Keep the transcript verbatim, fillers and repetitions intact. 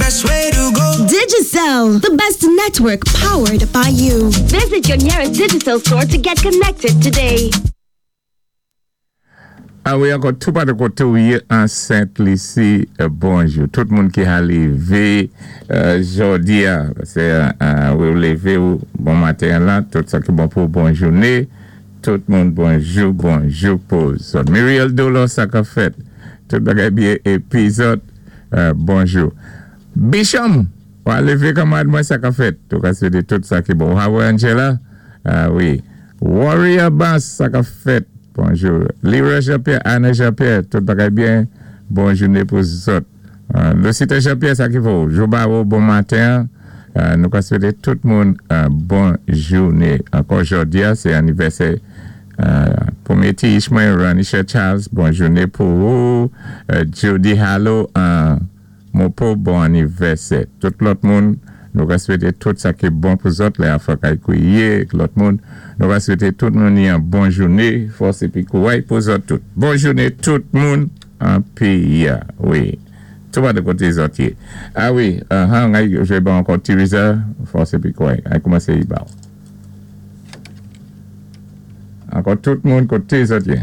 best way to go. Digicel, the best network powered by you. Visit your nearest Digicel store to get connected today. A wi, ankò tou pa de koté ou yé an Sent Lisi, bonjou. Tout moun ki a lévé jòdi-a, sé ou lévé ou bon maten la, tout sa ki bon pou bon jouné. Tout moun bonjou, bonjou pou zòt. Muriel Dolo, sa ka fèt. Tout bagay byen épi zòt, bonjou. Bicham, ou a lévé kanmad mwen, sa ka fèt. Tout ka swété tout sa ki bon. Hawe Angela, wi. Warrior Bass, sa ka fèt. Bonjou. Leroy Jean-Pierre, Anna Jean-Pierre, tout bagay byen. Bon jouné pou zòt. Lucita Jean-Pierre, sa ki vo. Jouba bon maten. Nou ka swété tout moun bon jouné. Ankò jòdi-a, sé anivèsè pwémyé ti mwen, Ranisha Charles, bon jouné pou ou. Judy Hallo, Mopo, bon anivèsè. Tout lòt moun, nou ka swété tout sa ki bon pou zòt, lè afè kay kouwiyé, lòt moun, nou ka swété tout moun yon bon jouné, fòs épi kouway pou zòt tout. Bon jouné tout moun an péyi-a, wi. Tou pa de koté zòt yé. A wi, han, jwé ban ankò Tiriza, fòs épi kouway. Ay koumansé yi ba ou. Ankò tout moun koté zòt yé.